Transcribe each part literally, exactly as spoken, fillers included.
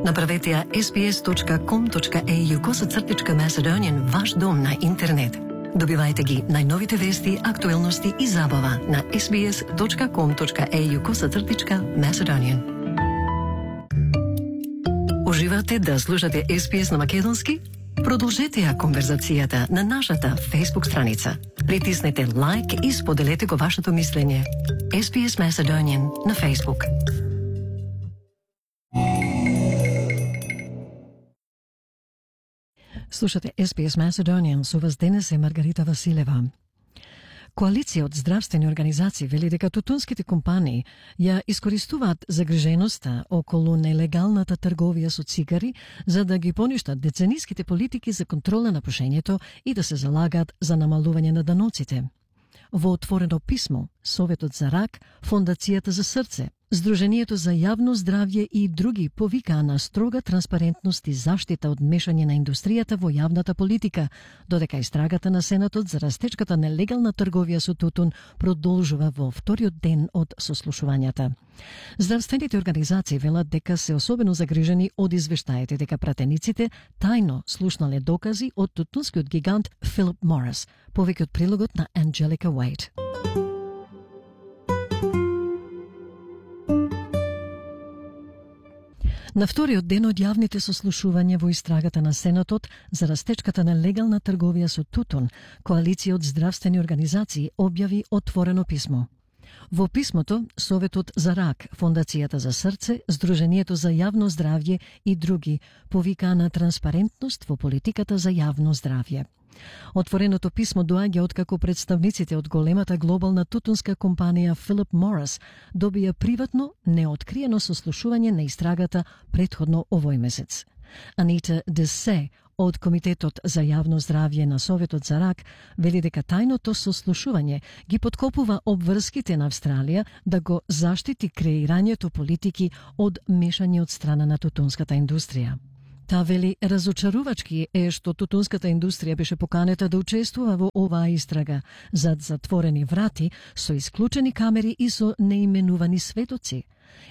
Направете ја ес би ес точка ком точка ей ю косацртичка Macedonian ваш дом на интернет. Добивајте ги најновите вести, актуелности и забава на ес би ес точка ком точка ей ю косацртичка Macedonian. Уживате да слушате ес би ес на македонски? Продолжете ја конверзацијата на нашата Facebook страница. Притиснете лайк и споделете го вашето мислење. ес би ес Macedonian на Facebook. Слушате ес би ес Macedonian, со вас денес е Маргарита Василева. Коалиција од здравствени организации вели дека тутунските компании ја искористуваат загриженоста околу нелегалната трговија со цигари за да ги поништат децениските политики за контрола на пушењето и да се залагаат за намалување на даноците. Во отворено писмо, Советот за рак, Фондацијата за срце, Сдруженијето за јавно здравје и други повикаа на строга транспарентност и заштита од мешање на индустријата во јавната политика, додека истрагата на Сенатот за растечката нелегална трговија со тутун продолжува во вториот ден од сослушувањата. Здравствените организации велат дека се особено загрижени од извештаите дека пратениците тајно слушнале докази од тутунскиот гигант Филип Морис, повеќе од прилогот на Анджелика Уейт. На вториот ден од јавните сослушувања во истрагата на Сенатот за растечката на легална трговија со тутун, коалиција од здравствени организации објави отворено писмо. Во писмото, Советот за рак, Фондацијата за срце, Сдруженијето за јавно здравје и други повикаа на транспарентност во политиката за јавно здравје. Отвореното писмо доаѓа откако представниците од големата глобална тутунска компанија Филип Морис добија приватно, неоткриено сослушување на истрагата претходно овој месец. Анита Десе од Комитетот за јавно здравје на Советот за рак вели дека тајното сослушување ги поткопува обврските на Австралија да го заштити креирањето политики од мешање од страна на тутунската индустрија. Та вели разочарувачки е што тутунската индустрија беше поканета да учествува во оваа истрага зад затворени врати со исклучени камери и со неименувани светоци.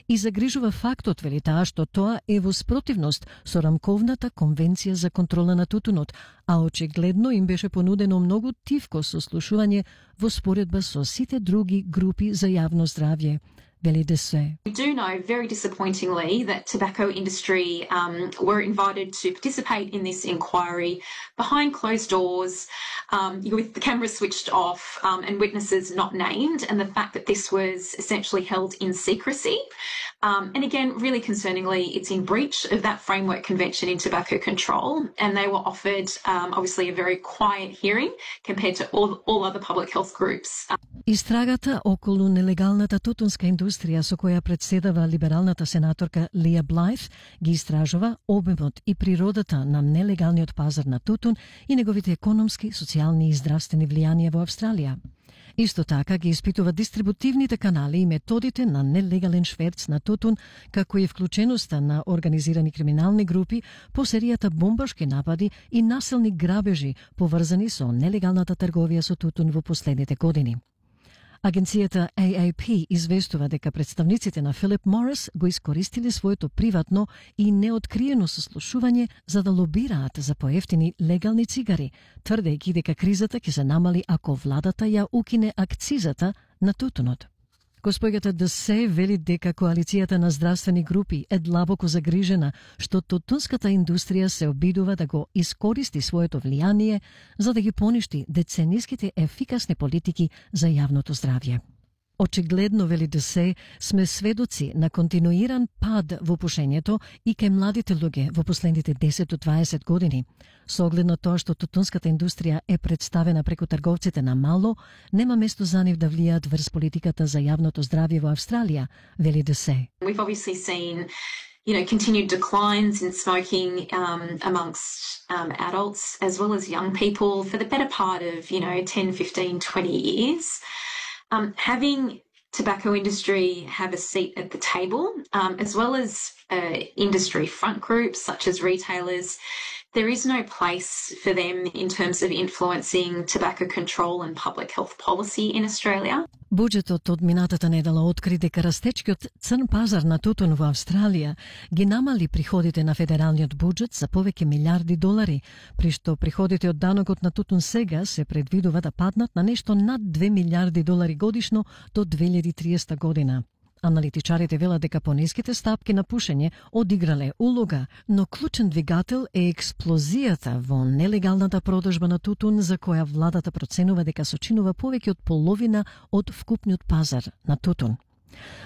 И загрижува фактот, вели таа, што тоа е во спротивност со рамковната конвенција за контрола на тутунот, а очигледно им беше понудено многу тивко сослушување во споредба со сите други групи за јавно здравје. We do know very disappointingly that tobacco industry um, were invited to participate in this inquiry behind closed doors um, with the camera switched off um, and witnesses not named, and the fact that this was essentially held in secrecy. Um, and again, really concerningly, it's in breach of that framework convention in tobacco control, and they were offered um, obviously a very quiet hearing compared to all, all other public health groups. Истрагата околу нелегалната тутунска индустрија со која председава либералната сенаторка Лија Блајф ги истражува обемот и природата на нелегалниот пазар на тутун и неговите економски, социјални и здравствени влијанија во Австралија. Исто така ги испитува дистрибутивните канали и методите на нелегален шверц на тутун, како и вклученоста на организирани криминални групи по серијата бомбашки напади и насилни грабежи поврзани со нелегалната трговија со тутун во последните години. Агенцијата А А П известува дека представниците на Филип Морис го искористиле своето приватно и неоткриено сослушување за да лобираат за поевтини легални цигари, тврдејќи дека кризата ќе се намали ако владата ја укине акцизата на тутунот. Госпоѓата Десе вели дека коалицијата на здравствени групи е длабоко загрижена што тутунската индустрија се обидува да го искористи своето влијание за да ги поништи децениските ефикасни политики за јавното здравје. Очигледно, вели Десе, сме сведоци на континуиран пад во пушењето и кај младите луѓе во последните десет до дваесет години. Со оглед на тоа што тутунската индустрија е представена преку трговците на мало, нема место за нив да влијаат врз политиката за јавното здравје во Австралија, вели Десе. We've obviously seen you know, continued declines in smoking um, amongst um, adults as well as young people for the better part of, you know, ten, fifteen, twenty years. Um, having tobacco industry have a seat at the table, um, as well as uh, industry front groups such as retailers, there is no place for them in terms of influencing tobacco control and public health policy in Australia. Буџетот од минатата недела откри дека растечкиот црн пазар на тутун во Австралија ги намали приходите на федералниот буџет за повеќе милиарди долари, при што приходите од данокот на тутун сега се предвидува да паднат на нешто над две милиарди долари годишно до две илјади и триесета година. Аналитичарите велат дека пониските стапки на пушење одиграле улога, но клучен двигател е експлозијата во нелегалната продажба на тутун, за која владата проценува дека сочинува повеќе од половина од вкупниот пазар на тутун.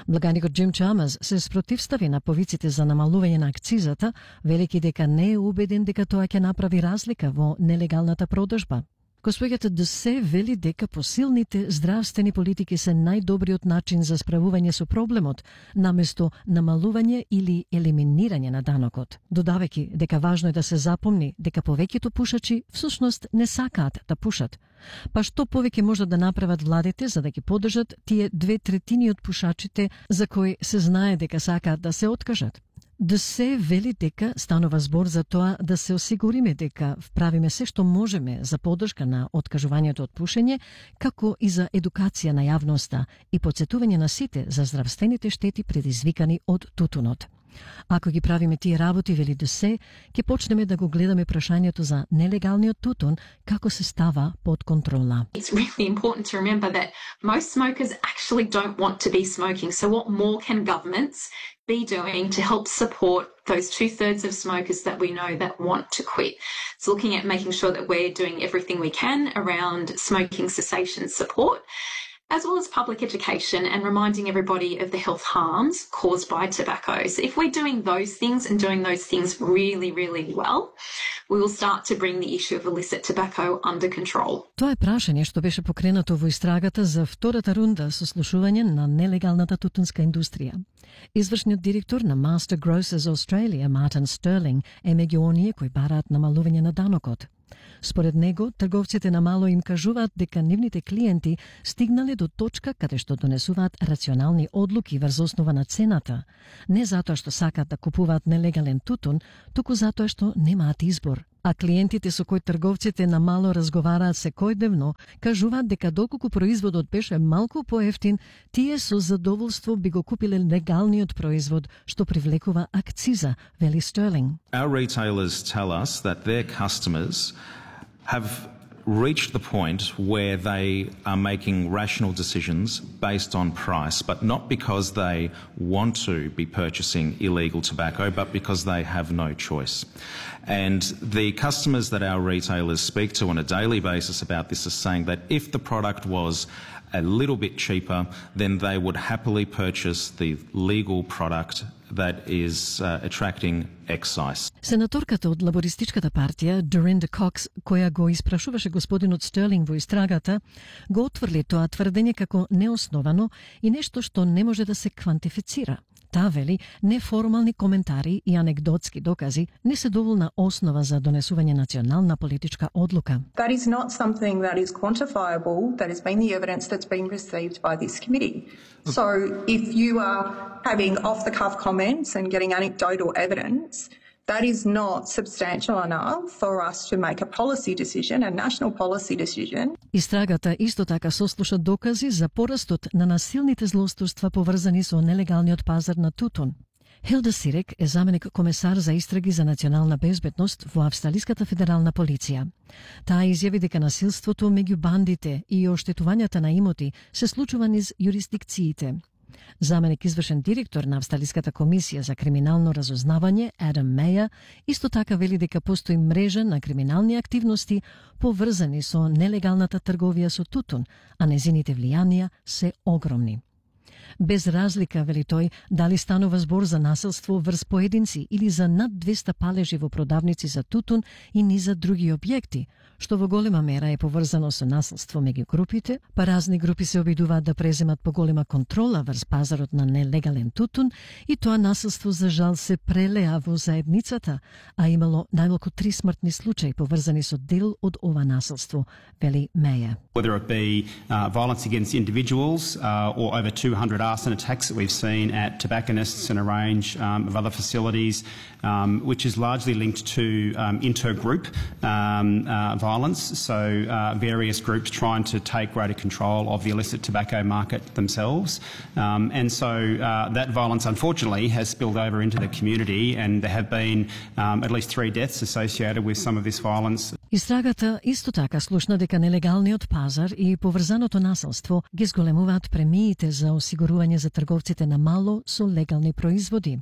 Благаникот Джим Чамерс се спротивстави на повиците за намалување на акцизата, велики дека не е убеден дека тоа ќе направи разлика во нелегалната продажба. Госпоѓата Десе вели дека посилните здравствени политики се најдобриот начин за справување со проблемот, наместо намалување или елиминирање на данокот, додавајќи дека важно е да се запомни дека повеќето пушачи всушност не сакаат да пушат. Па што повеќе можат да направат владите за да ги поддржат тие две третини од пушачите за кои се знае дека сакаат да се откажат? Да се вели дека станува збор за тоа да се осигуриме дека вправиме се што можеме за поддршка на откажувањето од пушење, како и за едукација на јавноста и потсетување на сите за здравствените штети предизвикани од тутунот. Ако ги правиме тие работи, вели да се, ќе почнеме да го гледаме прашањето за нелегалниот тутун како се става под контрола. It's really important to remember that most smokers actually don't want to be smoking. So what more can governments be doing to help support those two-thirds of smokers that we know that want to quit? It's looking at making sure that we're doing everything we can around smoking cessation support, as well as public education and reminding everybody of the health harms caused by tobacco. So if we're doing those things and doing those things really, really well, we will start to bring the issue of illicit tobacco under control. Тоа е прашање што беше покренато во истрагата за втората рунда со слушување на нелегалната тутунска индустрија. Извршниот директор на Master Grocers Australia, Martin Sterling, е меѓу оние кои бараат намалување на данокот. Според него, трговците на мало им кажуваат дека нивните клиенти стигнале до точка каде што донесуваат рационални одлуки врз основа на цената, не затоа што сакаат да купуваат нелегален тутун, туку затоа што немаат избор. А клиентите со кои трговците на мало разговараат секојдневно кажуваат дека доколку производот беше малку поевтин, тие со задоволство би го купиле легалниот производ што привлекува акциза, вели Стерлинг. Our retailers tell us that their customers have reached the point where they are making rational decisions based on price, but not because they want to be purchasing illegal tobacco, but because they have no choice. And the customers that our retailers speak to on a daily basis about this are saying that if the product was a little bit cheaper, then they would happily purchase the legal product that is uh, attracting excise. Сенаторката од лабористичката партија, Dorinda Cox, која го испрашуваше господинот Стерлинг во истрагата, го отврли тоа тврдење како неосновано и нешто што не може да се квантифицира. Таа вели, неформални коментари и анегдотски докази не се доволна основа за донесување национална политичка одлука. That is not something that is quantifiable, that has been the evidence that's been received by this committee. So if you are having off-the-cuff comments and getting anecdotal evidence, that is not substantial enough for us to make a policy decision, a national policy decision. Истрагата исто така сослуша докази за порастот на насилните злоустрства поврзани со нелегалниот пазар на тутун. Хилда Сирек е заменик комесар за истраги за национална безбедност во Австралиската федерална полиција. Таа изјави дека насилството меѓу бандите и оштетувањата на имоти се случува низ юрисдикциите. Заменик извршен директор на Австралиската комисија за криминално разузнавање, Адам Меја, исто така вели дека постои мрежа на криминални активности поврзани со нелегалната трговија со тутун, а незините влијанија се огромни. Без разлика, вели тој, дали станува збор за насилство врз поединци или за над двеста палежи во продавници за тутун и низа други објекти, што во голема мера е поврзано со насилство меѓу групите, па разни групи се обидуваат да преземат поголема контрола врз пазарот на нелегален тутун и тоа насилство за жал се прелеа во заедницата, а имало најмалку три смртни случаи поврзани со дел од ова насилство, вели Меја. Whether it be uh, violence against individuals uh, or over two hundred reported arson attacks that we've seen at tobacconists and a range um, of other facilities, um, which is largely linked to um, intergroup um, uh, violence, so uh, various groups trying to take greater control of the illicit tobacco market themselves. Um, and so uh, that violence, unfortunately, has spilled over into the community, and there have been um, at least three deaths associated with some of this violence. Истрагата исто така слушна дека нелегалниот пазар и поврзаното насилство ги зголемуваат премиите за осигурување за трговците на мало со легални производи.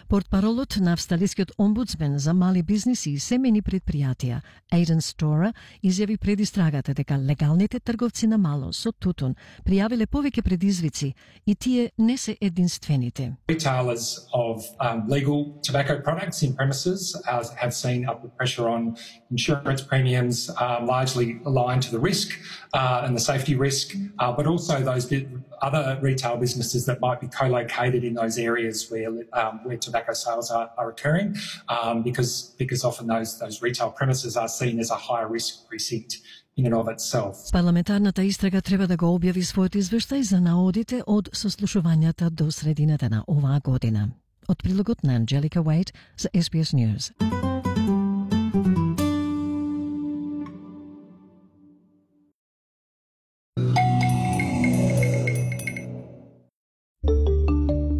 Портпаролот на австралискиот омбудсмен за мали бизниси и семени предпријатија, Aidan Storer, изјави пред истрагата дека легалните трговци на мало со тутун пријавиле повеќе предизвици и тие не се единствените. Retailers of um, legal tobacco products in premises uh, have seen upward pressure on insurance premiums, um, largely aligned to the risk uh, and the safety risk, uh, but also those bit, other retail businesses that might be co-located in those areas where um, where tobacco sales are, are occurring, um, because because often those those retail premises are seen as a high risk precinct in and of itself. Парламентарната истрага треба да го објави својот извештај за наодите од сослушувањата до средината на оваа година. Од прилогот на Анджелика Уейт за Ес Би Ес News.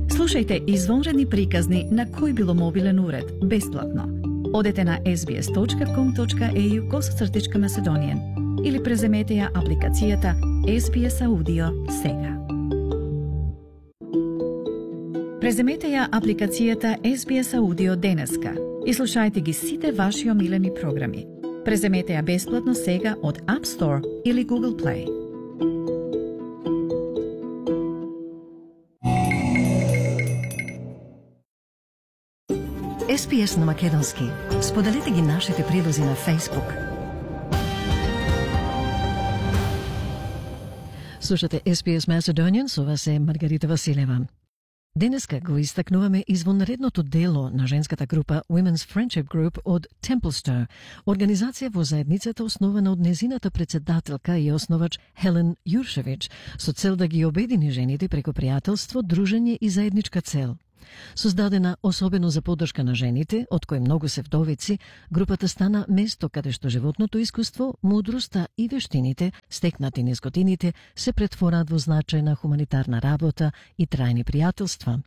Слушајте извонредни приказни на кој било мобилен уред, бесплатно. Одете на ес би ес точка ком точка ей ю косацртичка Macedonian или преземете ја апликацијата Ес Би Ес Audio сега. Преземете ја апликацијата Ес Би Ес Audio денеска и слушајте ги сите ваши омилени програми. Преземете ја бесплатно сега од App Store или Google Play. Ес Би Ес на македонски. Споделете ги нашите прилози на Facebook. Слушате Ес Би Ес Macedonian, со вас е Маргарита Василева. Денеска го истакнуваме извонредното дело на женската група Women's Friendship Group од Templestowe, организација во заедницата основана од незината председателка и основач Хелен Јуршевич, со цел да ги обедини жените преку пријателство, дружење и заедничка цел. Создадена особено за поддршка на жените, од кои многу се вдовици, групата стана место каде што животното искуство, мудроста и вештините, стекнати низ годините, се претвораат во значајна хуманитарна работа и трајни пријателства.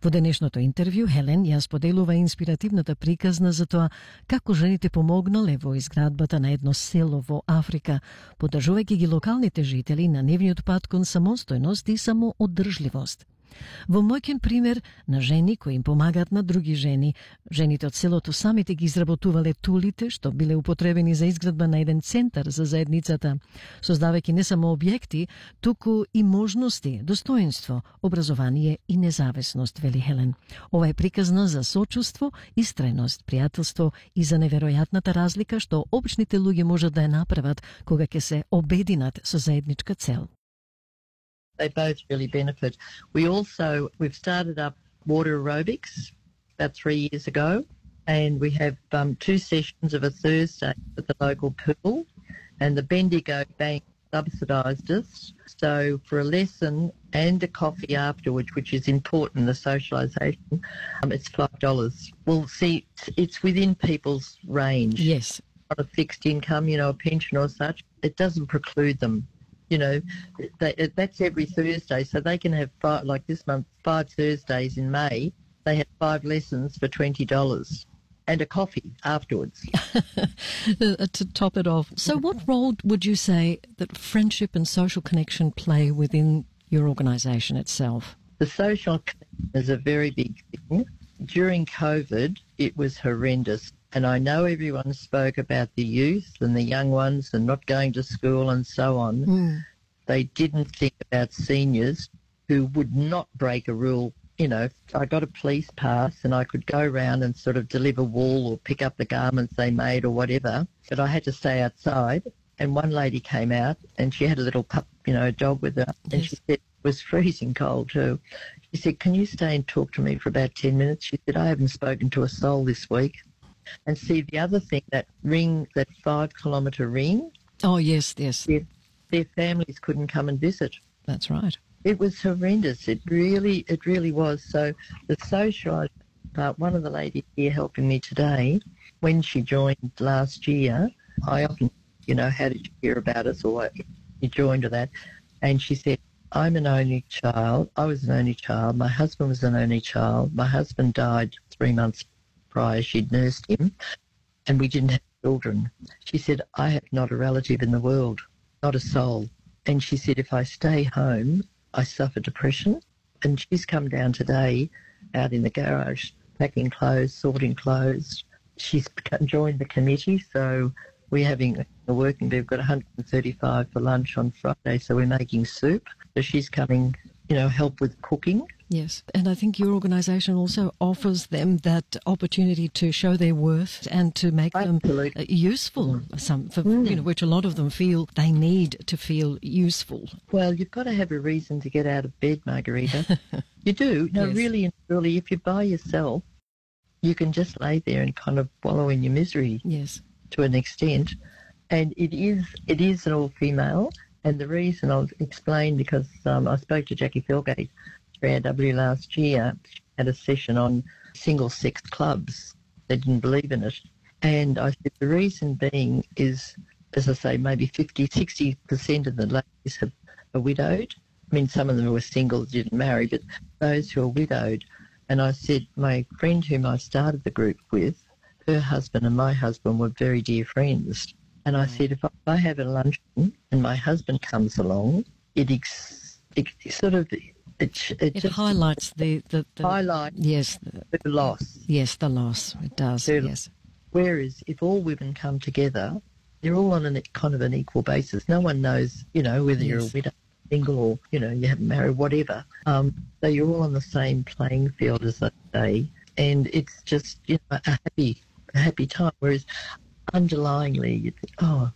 Во денешното интервју Хелен ја споделува инспиративната приказна за тоа како жените помогнале во изградбата на едно село во Африка, поддржувајќи ги локалните жители на нивниот пат кон самостојност и самоодржливост. Во мојкен пример на жени кои им помагаат на други жени, жените од селото самите ги изработувале тулите што биле употребени за изградба на еден центар за заедницата, создавајќи не само објекти, туку и можности, достоинство, образование и независност, вели Хелен. Ова е приказна за сочувство, истрајност, пријателство и за неверојатната разлика што обичните луѓе можат да ја направат кога ќе се обединат со заедничка цел. They both really benefit. We also, we've started up water aerobics about three years ago, and we have um, two sessions of a Thursday at the local pool, and the Bendigo Bank subsidised us. So for a lesson and a coffee afterwards, which is important, the socialisation, um, it's five dollars. Well, see, it's within people's range. Yes. Not a fixed income, you know, a pension or such. It doesn't preclude them. You know, they, that's every Thursday, so they can have five, like this month, five Thursdays in May. They had five lessons for twenty dollars and a coffee afterwards. To top it off. So what role would you say that friendship and social connection play within your organisation itself? The social connection is a very big thing. During COVID, it was horrendous. And I know everyone spoke about the youth and the young ones and not going to school and so on. Mm. They didn't think about seniors who would not break a rule. You know, I got a police pass and I could go around and sort of deliver wool or pick up the garments they made or whatever, but I had to stay outside. And one lady came out and she had a little pup, you know, a dog with her, and yes. She said, it was freezing cold too. She said, can you stay and talk to me for about ten minutes? She said, I haven't spoken to a soul this week. And see, the other thing, that ring, that five-kilometre ring. Oh, yes, yes. Their, their families couldn't come and visit. That's right. It was horrendous. It really, it really was. So the social part, one of the ladies here helping me today, when she joined last year, I often, you know, how did you hear about us, or you joined to that? And she said, I'm an only child. I was an only child. My husband was an only child. My husband died three months prior. She'd nursed him, and we didn't have children. She said, I have not a relative in the world, not a soul. And she said, if I stay home, I suffer depression. And she's come down today out in the garage, packing clothes, sorting clothes. She's joined the committee, so we're having a working, we've got one hundred thirty-five for lunch on Friday, so we're making soup. So she's coming, you know, help with cooking. Yes, and I think your organisation also offers them that opportunity to show their worth and to make Absolutely. them useful, some, for, mm. you know, which a lot of them feel they need to feel useful. Well, you've got to have a reason to get out of bed, Margarita. You do. No, Yes. really and truly, if you're by yourself, you can just lay there and kind of wallow in your misery Yes. to an extent. And it is it is an all-female, and the reason I'll explain, because um, I spoke to Jackie Felgate, three R W, last year, she had a session on single-sex clubs. They didn't believe in it. And I said the reason being is, as I say, maybe fifty, sixty percent of the ladies have, are widowed. I mean, some of them were single, didn't marry, but those who are widowed. And I said, my friend whom I started the group with, her husband and my husband were very dear friends. And I said, if I have a luncheon and my husband comes along, it, ex, it sort of... It, it, It just highlights the... the, the highlights yes, the, the loss. yes, the loss. It does, Their- yes. Whereas if all women come together, they're all on an, kind of an equal basis. No one knows, you know, whether you're a Yes. widow, single, or, you know, you haven't married, whatever. Um, so you're all on the same playing field, as I say. And it's just, you know, a happy, a happy time. Whereas underlyingly, you think, oh,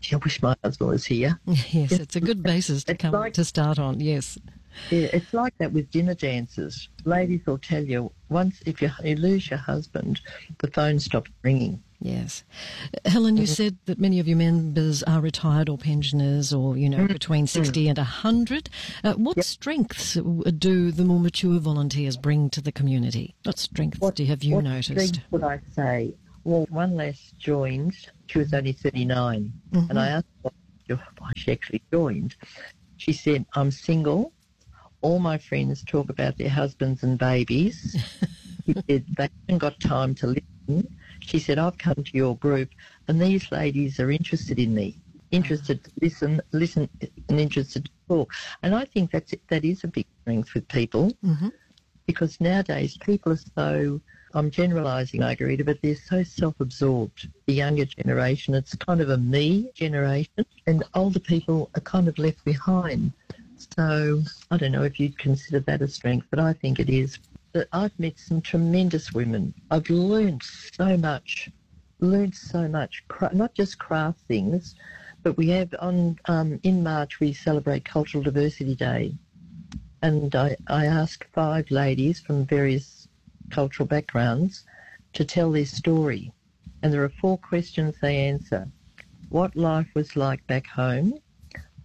gee, I wish my husband was here. Yes, it's a good basis to It's come like- to start on, yes. Yeah, it's like that with dinner dances. Ladies will tell you, once if you, you lose your husband, the phone stops ringing. Yes. Helen, you said that many of your members are retired or pensioners or, you know, between sixty and one hundred. Uh, what strengths do the more mature volunteers bring to the community? What strengths What- do have you what noticed? strength would I say? Well, one lass joined. She was only thirty-nine. And I asked her why she actually joined. She said, I'm single. All my friends talk about their husbands and babies. She said, they haven't got time to listen. She said, I've come to your group and these ladies are interested in me, interested to listen, listen and interested to talk. And I think that's that is a big strength with people Mhm. because nowadays people are so, I'm generalising, Margarita, but they're so self-absorbed. The younger generation, it's kind of a me generation, and older people are kind of left behind. So I don't know if you'd consider that a strength, but I think it is. But I've met some tremendous women. I've learned so much, learned so much, cra- not just craft things, but we have on um, in March we celebrate Cultural Diversity Day, and I, I asked five ladies from various cultural backgrounds to tell their story, and there are four questions they answer. What life was like back home,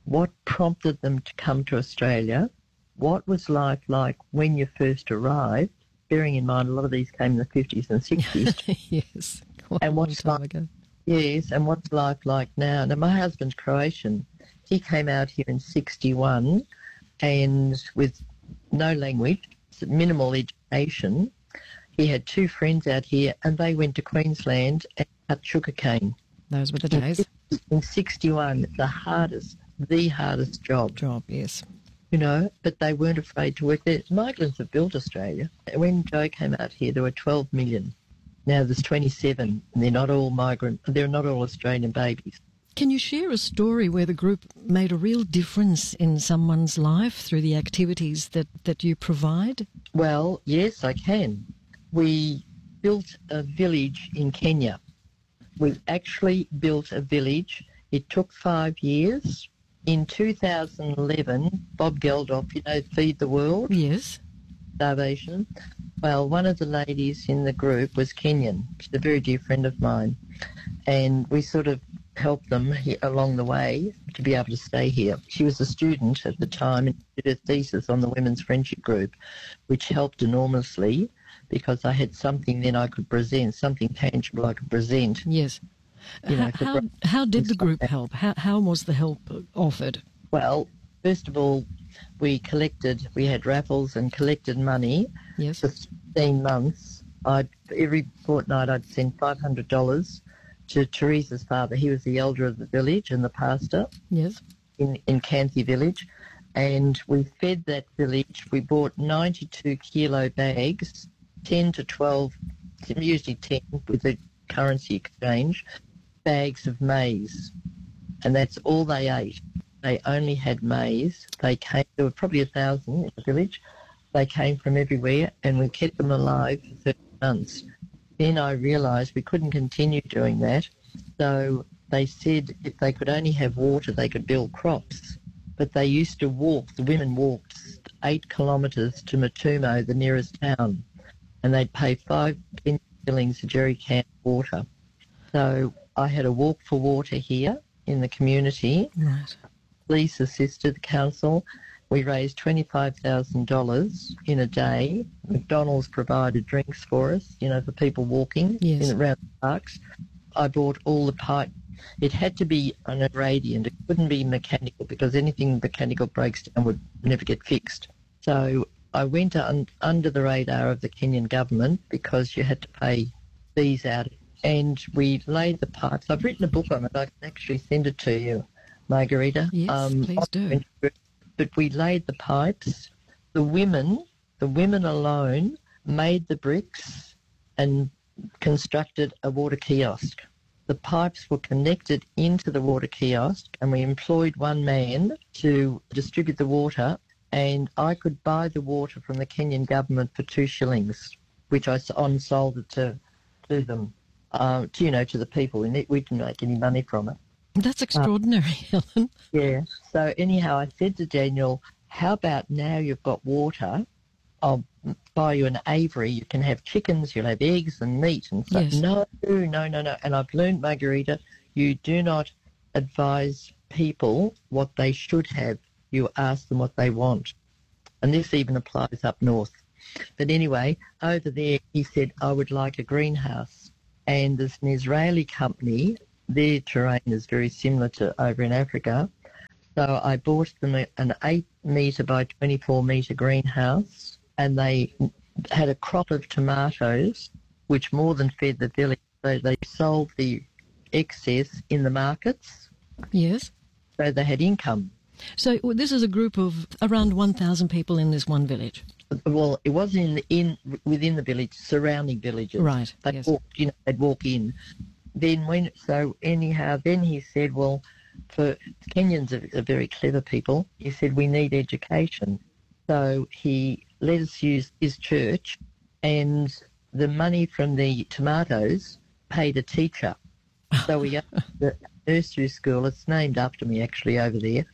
what prompted them to come to Australia, what was life like when you first arrived, bearing in mind a lot of these came in the fifties and sixties, Yes. Quite And a long what's time like- ago. yes, and what's life like now. Now, my husband's Croatian. He came out here in sixty-one and with no language, minimal education. He had two friends out here and they went to Queensland and cut sugarcane. Those were the days. In sixty-one, the hardest, the hardest job. Job, yes. You know, but they weren't afraid to work there. Migrants have built Australia. When Joe came out here, there were twelve million. Now there's twenty-seven, and they're not all migrant. They're not all Australian babies. Can you share a story where the group made a real difference in someone's life through the activities that, that you provide? Well, yes, I can. We built a village in Kenya. We actually built a village. It took five years. In two thousand eleven, Bob Geldof, you know, Feed the World, Yes. starvation. Well, one of the ladies in the group was Kenyan. She's a very dear friend of mine. And we sort of helped them he- along the way to to be able to stay here. She was a student at the time and did her thesis on the Women's Friendship Group, which helped enormously because I had something then I could present, something tangible I could present. Yes. You know, how, how, how did the group help? How, how was the help offered? Well, first of all, we collected, we had raffles and collected money. Yes. For fifteen months. I'd, every fortnight I'd send five hundred dollars to Teresa's father. He was the elder of the village and the pastor. Yes. In, in Canthey village. And we fed that village. We bought ninety-two kilo bags, ten to twelve, usually ten with the currency exchange, bags of maize. And that's all they ate. They only had maize. They came, there were probably a thousand in the village. They came from everywhere and we kept them alive for thirty months. Then I realised we couldn't continue doing that. So they said if they could only have water, they could build crops. But they used to walk, the women walked eight kilometres to Matumo, the nearest town, and they'd pay five shillings a jerry can of water. So I had a walk for water here in the community. Right. Police assisted the council. We raised twenty-five thousand dollars in a day. McDonald's provided drinks for us, you know, for people walking yes. in around the parks. I bought all the pipe. It had to be on a gradient. It couldn't be mechanical because anything mechanical breaks down would never get fixed. So I went un- under the radar of the Kenyan government because you had to pay fees out. And we laid the pipes. I've written a book on it. I can actually send it to you, Margarita. Yes, um, please do. But we laid the pipes. The women, the women alone made the bricks and constructed a water kiosk. The pipes were connected into the water kiosk and we employed one man to distribute the water, and I could buy the water from the Kenyan government for two shillings, which I on-sold it to, to them, uh, to, you know, to the people. And we didn't make any money from it. That's extraordinary, uh, Helen. Yeah. So anyhow, I said to Daniel, how about now you've got water, I'll buy you an aviary, you can have chickens, you'll have eggs and meat and stuff. Yes. No, no, no, no. And I've learned, Margarita, you do not advise people what they should have. You ask them what they want. And this even applies up north. But anyway, over there, he said, I would like a greenhouse. And there's an Israeli company. Their terrain is very similar to over in Africa. So I bought them an eight metre by twenty-four metre greenhouse, and they had a crop of tomatoes, which more than fed the village. So they sold the excess in the markets. Yes. So they had income. So this is a group of around one thousand people in this one village. Well, it was in in within the village, surrounding villages. Right. They yes. walked, you know, they'd walk in. Then when so anyhow, then he said, well, for Kenyans are, are very clever people. He said we need education. So he let us use his church, and the money from the tomatoes paid a teacher. So we got the nursery school. It's named after me actually over there,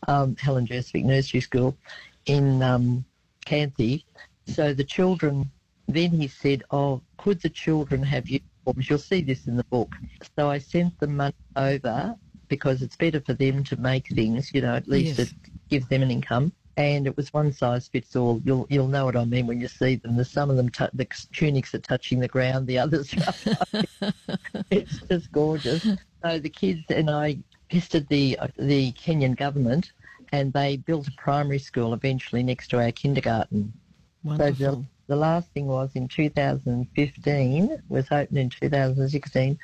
um, Helen Jersvik Nursery School in um, Canthey. So the children. Then he said, "Oh, could the children have uniforms?" You'll see this in the book. So I sent the money over because it's better for them to make things. You know, at least yes. it gives them an income. And it was one size fits all. You'll you'll know what I mean when you see them. There's some of them, t- the tunics are touching the ground. The others, it's just gorgeous. So the kids and I pestered the the Kenyan government, and they built a primary school eventually next to our kindergarten. Wonderful. So the, the last thing was in two thousand fifteen, was opened in two thousand sixteen,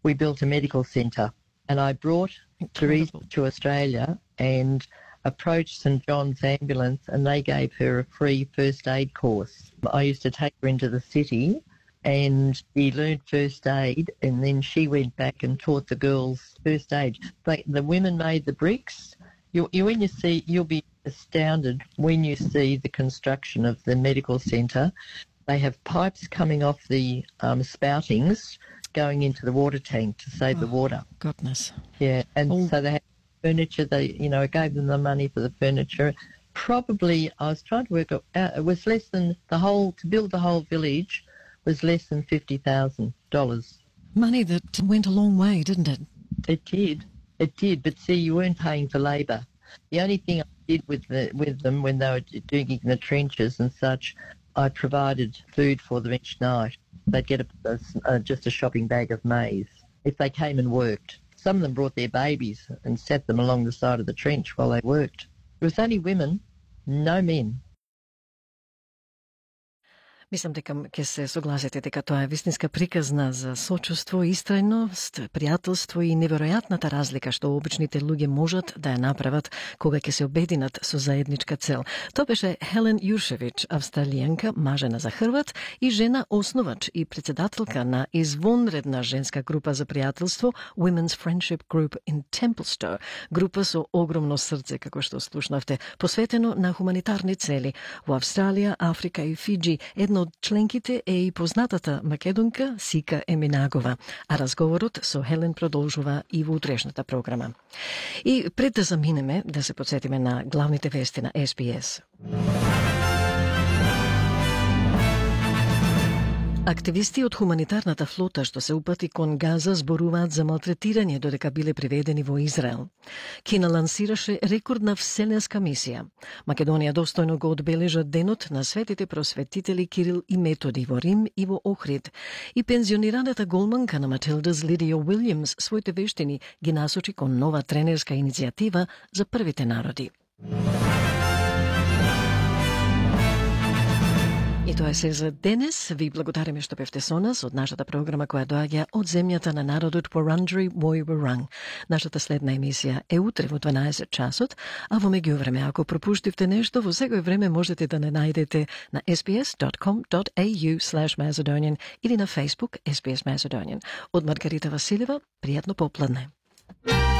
we built a medical centre. And I brought Teresa to Australia and approached St John's Ambulance, and they gave her a free first aid course. I used to take her into the city and she learned first aid, and then she went back and taught the girls first aid. But the women made the bricks. You, you, when you see, you'll be astounded when you see the construction of the medical centre. They have pipes coming off the um, spoutings going into the water tank to save oh, the water. Goodness. Yeah, and oh. so they had furniture. They, you know, I gave them the money for the furniture. Probably, I was trying to work out, uh, it was less than the whole, to build the whole village was less than fifty thousand dollars. Money that went a long way, didn't it? It did. It did, but see, you weren't paying for labour. The only thing I did with the, with them when they were doing in the trenches and such, I provided food for them each night. They'd get a, a, a, just a shopping bag of maize if they came and worked. Some of them brought their babies and sat them along the side of the trench while they worked. It was only women, no men. Мислам дека ќе се согласите дека тоа е вистинска приказна за сочувство, истрајност, пријателство и неверојатната разлика што обичните луѓе можат да ја направат кога ќе се обединат со заедничка цел. Тоа беше Хелен Јуршевич, австралијанка, мажена за Хрват и жена основач и председателка на извонредна женска група за пријателство Women's Friendship Group in Templestowe, група со огромно срце, како што слушнавте, посветено на хуманитарни цели во Австралија, Африка и Фиджи. Едно од членките е и познатата македонка Сика Еминагова, а разговорот со Хелен продолжува и во утрешната програма. И пред да заминеме, да се подсетиме на главните вести на Ес Би Ес. Активисти од хуманитарната флота што се упати кон Газа зборуваат за малтретирање додека биле приведени во Израел. Кина лансираше рекордна вселенска мисија. Македонија достојно го одбележа денот на светите просветители Кирил и Методи во Рим и во Охрид. И пензионираната голманка на Матилдас Лидија Уилјамс своите вештини ги насочи кон нова тренерска иницијатива за првите народи. И тоа е се за денес. Ви благодариме што бевте со нас од нашата програма која доаѓа од земјата на народот Wurundjeri Woi Wurrung. Нашата следна емисија е утре во дванаесет часот, а во меѓувреме, ако пропуштивте нешто, во секој време можете да не најдете на ес би ес dot com dot a u slash Macedonian или на Facebook Ес Би Ес Macedonian. Од Маргарита Василева, пријатно попладне.